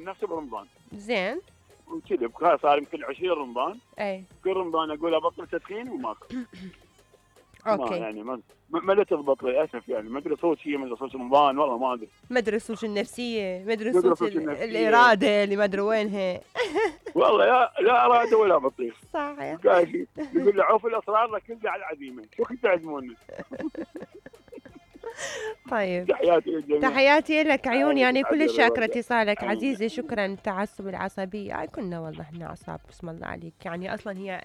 نفسه برمضان. زين. وكذا صار يمكن 20 رمضان. اي. كل رمضان اقول ابطل تدخين وماكو. اوكي. ما يعني ما تضبط للاسف يعني، ما ادري صوت شيء، ما ادري صوت رمضان والله ما ادري. ما ادري صوت النفسيه، ما ادري صوت الاراده اللي ما ادري وينها. والله لا اراده ولا بطيخ. صحيح. يقول له عوف الاسرار لكن على العزيمه، شو كنت تعزمونا؟ طيب تحياتي للجميع. تحياتي لك عيوني، يعني كل شاكرة اتصالك عزيزي. شكرا. التعصب العصبية كنا والله احنا اعصاب بسم الله عليك، يعني اصلا هي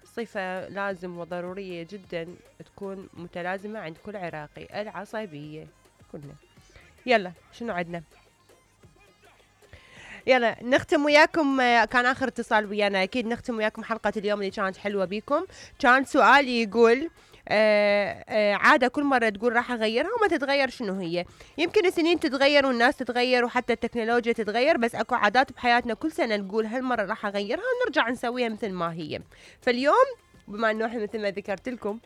صفة لازم وضرورية جدا تكون متلازمة عند كل عراقي، العصبية كلنا. يلا شنو عندنا؟ يلا نختم وياكم، كان آخر اتصال ويانا، أكيد نختم وياكم حلقة اليوم اللي كانت حلوة بيكم. كان سؤالي يقول عادة كل مرة تقول راح أغيرها وما تتغير، شنو هي؟ يمكن السنين تتغير والناس تتغير وحتى التكنولوجيا تتغير، بس أكو عادات بحياتنا كل سنة نقول هالمرة راح أغيرها ونرجع نسويها مثل ما هي. فاليوم بما أنه إحنا مثل ما ذكرت لكم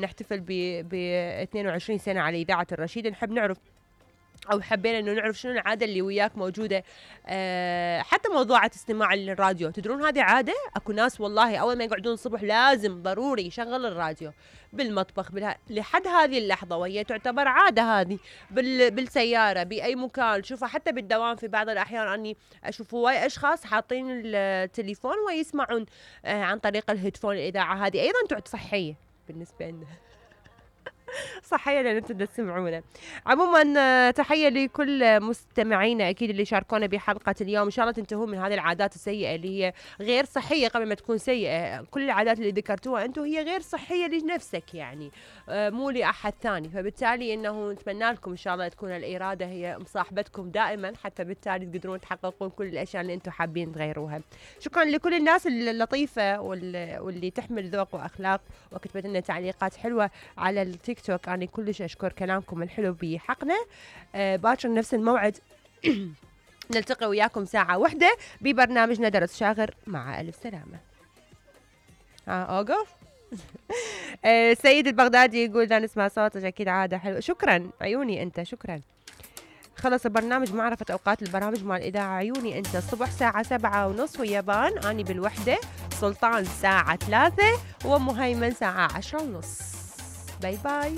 نحتفل ب 22 سنة على إذاعة الرشيد، نحب نعرف أو حبينا إنه نعرف شنو العادة اللي وياك موجودة. حتى موضوعة استماع للراديو، تدرون هذه عادة؟ أكو ناس والله أول ما يقعدون الصبح لازم ضروري يشغل الراديو بالمطبخ لحد هذه اللحظة، وهي تعتبر عادة هذه بالسيارة بأي مكان. شوفها حتى بالدوام في بعض الأحيان أني أشوف هواي أشخاص حاطين التليفون ويسمعون عن طريق الهيدفون. الإذاعة هذه أيضا تعد صحية بالنسبة لنا. صحيح لأن انتم تسمعونا. عموما تحية لكل مستمعينا أكيد اللي شاركونا بحلقة اليوم. إن شاء الله تنتهون من هذه العادات السيئة اللي هي غير صحية قبل ما تكون سيئة. كل العادات اللي ذكرتوها أنتم هي غير صحية لنفسك يعني، مو لأحد ثاني. فبالتالي إنه نتمنى لكم إن شاء الله تكون الإرادة هي مصاحبتكم دائما، حتى بالتالي تقدرون تحققون كل الأشياء اللي أنتم حابين تغيروها. شكرا لكل الناس اللطيفة واللي تحمل ذوق وأخلاق وكتبت لنا تعليقات حلوة على التيك توك. أنا كلش أشكر كلامكم الحلو بحقنا. باكر نفس الموعد نلتقي وياكم ساعة واحدة ببرنامجنا درس شاغر. مع ألف سلامة. أوقف. سيد البغدادي يقول لا نسمع صوتك، أكيد عادة حلوة. شكرا عيوني أنت، شكرا. خلص البرنامج معرفة أوقات البرامج مع الإذاعة عيوني أنت. الصبح ساعة 7:30 ويابان، أني بالوحدة، سلطان ساعة 3، ومهيمن ساعة 10:30. باي باي.